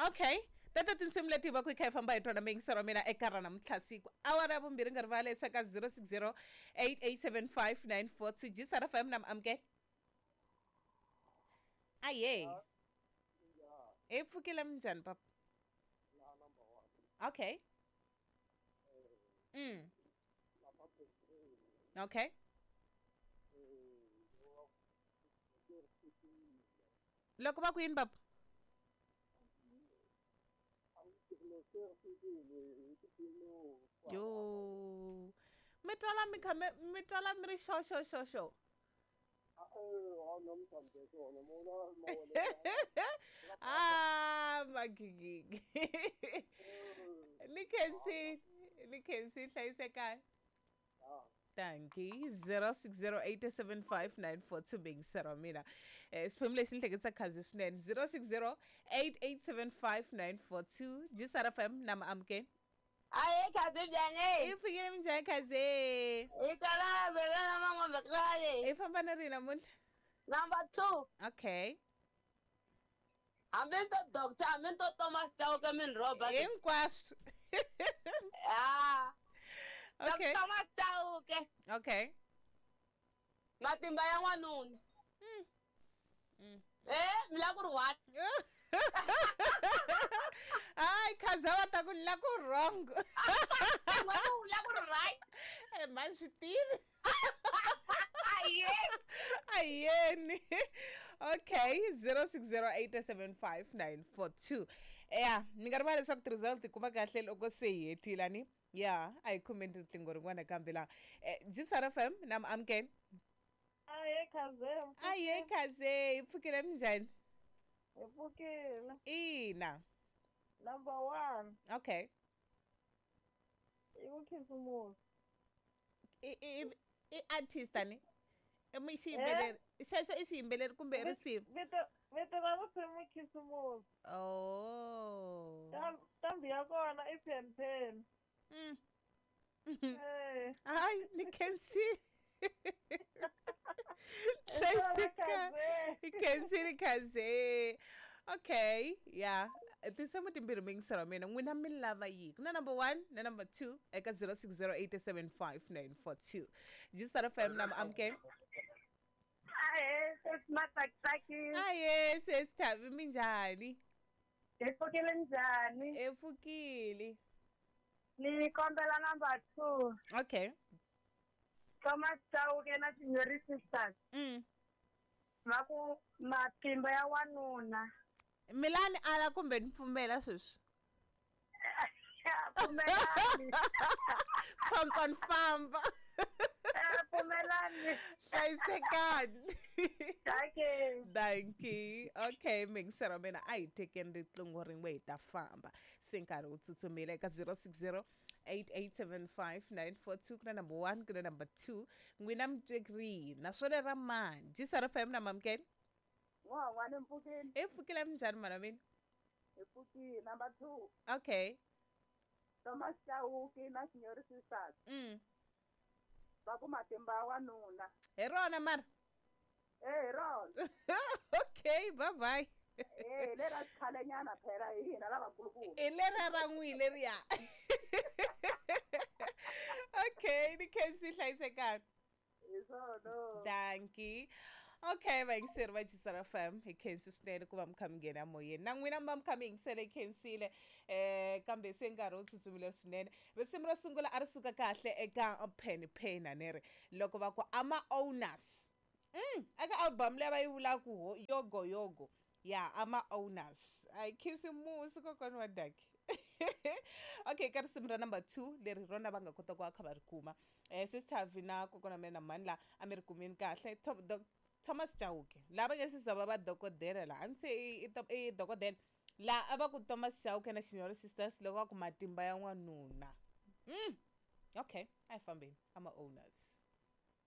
Okay, tata tinsimu leti hi va ku hi kha hi famba hi tona miyingisero wa mina eka ra namuntlha siku awara ya vumbirhi nga rivali leswaku ka 060 8875 942 jisara fm na amukela. Aye, hi pfukile, minjhani papa? Okay. Okay. Loko va ku yini papa? Yo, mi twala mi kha mi twala mi ri xo xo xo xo. Ah, magigigi, ni khensile, ni khensile, hlayisekani. Danki. 06087594 beyingisero mina. Xiphemu lexi ni hleketisa khazi swinene. 0608875942 Jisara FM na maamukeni. Aye, khazi njhani? I pfukile, minjhani khazi? Hi twala vela mangombe kale. I famba na rini namuntlha? Number 2. Okay. Hambi ni to doctor, hambi ni to Thomas Chauke min rhoba. Hinkwaswo. Ah. Okay. Thomas Chauke. Okay. Matimba ya n'wanuna. Eh, mi la ku ri what? Hayi, khaza va ta ku ni la ku wrong. N'wanuna u la ku ri right. Eh, mani swi tivi. Aye. Ayeni. Okay, 06087594. Ya, ni nga rivala leswaku ti-result ti kuma kahle loko se hi hetile ni ya. A hi khomeni riqingho rin'wana kambe laha. Jisara FM na amukeni. Aye, khaze. Aye, khaze, hi pfukile, minjhani? Hi pfukile. Ina. Number 1. Okay. I ku khisimusi. I artist ani? I mi xiyimbeleri xexo, i xiyimbeleri kumbe i risimu? Vito ra risimu i khisimusi. Oh. Ntambi ya kona i pen pen. Eh. Hayi, ni khensile. Hlayiseka, hi khensile khaze. Okay, ya, tinsimu timbirhi miyingisero wa mina, n'wina mi lava yihi? Ku na number 1 na number 2 eka 06087594. Jisara FM na amukeni. Ahe, sesi Matsakitsaki. Aye, sesi Thavi, minjhani? Hi pfukile, njhani? Hi pfukile. Ni kombela number 2. Okay. Thomas Chauke na Shinyori Sisters. Va ku matimba ya wanuna. Milani ala kumbe ni pfumela sweswi? Pfumelani. Tsontswa ni famba. Pfumelani. Hlayisekani. Dankie. Dankie. Okay, mingisero mina, a hi tekeni riqingho rin'we hi ta famba se nkarhi wu tsutsumile. Eka 060 8875942 ku na number 1, ku na number 2. N'wina mi twe rihi naswona ra mani? Jisara FM na mamukeni. N'wana mpfukeni. I pfukile, minjhani mana mina? Hi pfukile. Number 2. Okay. Thomas Chauke na Shinyori Sisters. Va ku matimba ya wanuna. Hi rona mara? Eh, hi rona. Okay, bye bye. Eh, lera xikhalenyana phela, hi hina lavakulukumba. Hi lera ra n'wi leriya. Okay, ni khensi, hlayisekani. Hi swona. Dankie. Okay, vayingiseri va Jisara FM, hi khensi swinene ku va mi kha mi nghena moyeni, na n'wina mi va mi kha mi yingisele, hi khensile. Kambe se nkarhi wu tsutsumile swinene. Risimu ro sungula a ri suka kahle eka Penny Penny a ni ri loko va ku ama owners eka album leyi va yi vulaka Yogo Yogo ya ama owners. A hi khisimusi kokwana wa daki. Okay, ka risimu ra number 2 leri rona va nga kota ku va kha va ri kuma, sister na kokwana mina mhani la a mi ri kumini kahle. Thomas Chauke lava nge se va va dokodela la a ni se i dokodela la a va ku Thomas Chauke na Shinyori Sisters loko va ku matimba ya n'wanuna. Okay, a hi fambeni, ama owners.